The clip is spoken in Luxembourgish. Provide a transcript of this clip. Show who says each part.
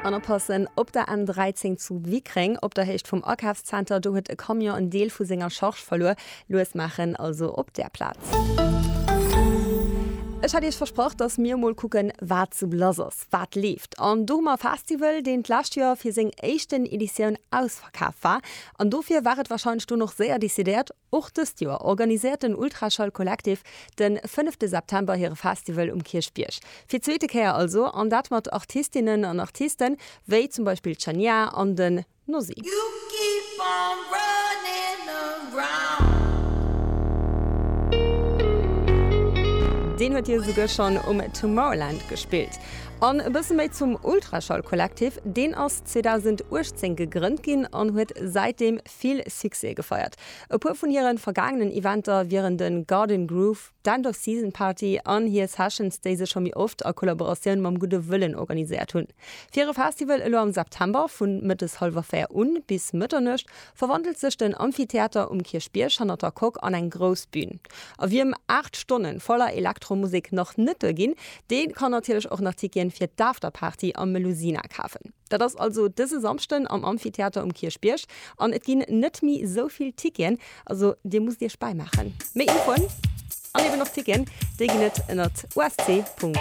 Speaker 1: An oppassen, Op der N 13 zu Wickreng, op der Héicht vum Akafszenter, do huet e Camion en Deel vu senger Charge verluer. Lues maachen also op där Plaz. Ech hat iech versprach, dass mir emol kucken, wat sou lass ass, wat leeft. An do hu mer e Festival, deen d'lescht Joer fir seng éischten Editioun ausverkaf war. An dofir war et warscheinlech dunn och séier decidéiert, Och dëst Joer organiséiert den Ultraschall Collective de fënnefte September hire Festival um Kierchbierg. Fir d'zweete Kéier also, an dat mat Artistinnen an Artisten, wéi zum Beispill d'Shania an den Nosy. Deen huet jo esouguer schonn um Tomorrowland gespillt. An e bësse méi zum Ultraschall Collective, deen ass 2018 gegrënnt ginn an huet säitdeem vill Succès gefeiert. E puer vun hiren vergaangenen Eventer wieren den Garden Groove, d'End of Season Party an hir Sessions, déi se scho méi oft a Kollaboratioun mam Gudde Wëllen organiséiert hunn. Fir hire Festival elo am September, vun mëttes hallwer 4 un bis Mëtternuecht, verwandelt sech den Amphitheater um Kierchbierg hannert der Coque an eng grouss Bün. A wiem 8 Stonnen voller Elektromusek nach net duerginn, dee kann natierlech och nach Ticketen fir d'Afterparty am Melusina kafen. Dat ass also dëse Samschden am Amphitheater um Kierchbierg an et ginn net méi esou vill Ticketen, also dir musst iech bäimaachen. Méi Infoen an eben och Ticketen, déi ginn et ënnert usc.lu.